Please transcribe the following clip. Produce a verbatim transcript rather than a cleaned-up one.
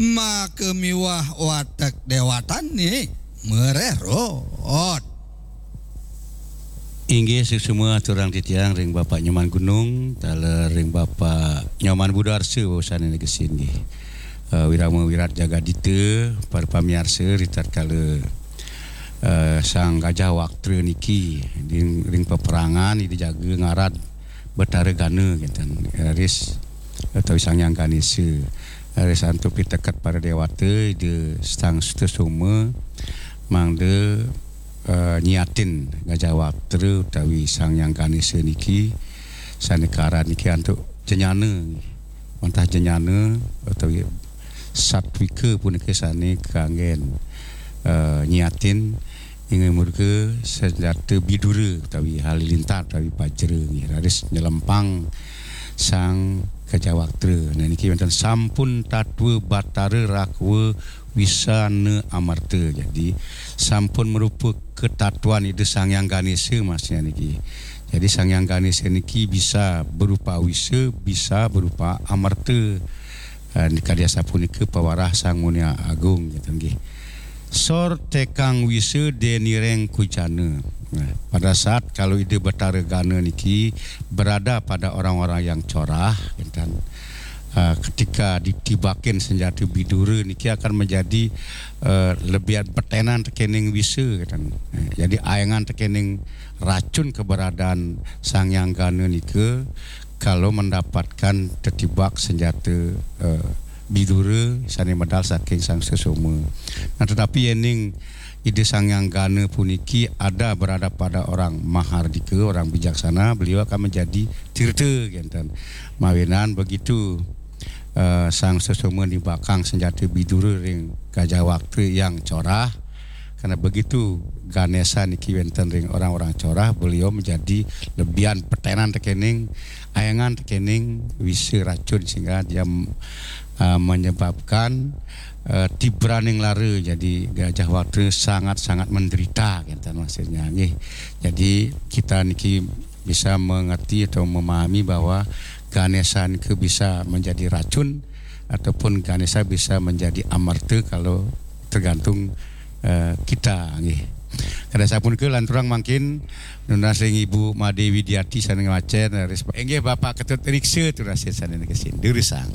Maka miwah watek dewatané mererot. Inggih, suksma aturang titiang ring Bapak Nyoman Gunung, taler ring Bapak Nyoman Budarsa, wusané negesi nggih. Eh, wirama wirat jagadita, para pamiarsa, ritatkala, eh, Sang Gajah Waktra niki ring, ring peperangan, Ida jaga ngarad Betara Gana, kinten. Raris utawi Sang Hyang Ganésa. Raris antuk piteket para déwata, Ida Sang Sutasoma mangda, eh, nyiatin Gajah Waktra utawi Sang Hyang Ganésa niki sané kaarad niki antuk jenyana, wantah jenyana utawi satwika punika sané kanggén, eh, nyiatin inggih murka senjata bidura utawi halilintar utawi bajra nggih, raris nyelempang Sang Gajah Waktra. Nah, niki wénten sampun tatwa Batara Rakwa Wisana Amerta. Jadi, sampun marupa katatuan Ida Sang Hyang Ganésa maksudnya niki. Jadi, Sang Hyang Ganésa niki bisa berupa wisa, bisa berupa amerta. Eh, kadi asapunika pawarah Sang Munia Agung, gitu nggih. Sor tekang wisa denireng kujana. Nah, pada saat kalau Ida Betara Gana niki berada pada orang-orang yang corah, gitu kan. Eh, ketika ditibakin senjata bidura niki akan menjadi, eh, lebihan petenan tekening wisa, gitu kan. Eh, jadi aengan tekening racun keberadaan Sang Hyang Gana nika kalau mendapatkan tetibak senjata, eh, bidura sané medal saking Sang Sutasoma. Nah, tetapi yéning Ida Sang Hyang Gana puniki ada berada pada orang mahardika, orang bijaksana, beliau akan menjadi tirta, kinten. Mawinan begitu, eh, Sang Sutasoma nibakang senjata bidura ring Gajah Waktra yang corah, karena begitu Ganésa niki wénten ring orang-orang corah, beliau menjadi lebihan petenan tekening, aengan tekening wisa racun sehingga dia, eh, menyebabkan, eh, tibraning lara. Jadi Gajah Waktra sangat-sangat menderita, kinten maksudnya nggih. Jadi kita niki bisa mengerti atau memahami bahwa Ganésa niki bisa menjadi racun ataupun Ganésa bisa menjadi amerta kalau tergantung, eh, kita nggih. Kada sapunika lanturang mangkin nunas ring Ibu Madé Widiati sané ngwacén, raris inggih Bapak Ketut Riksa tunas sané negesi. Durusang.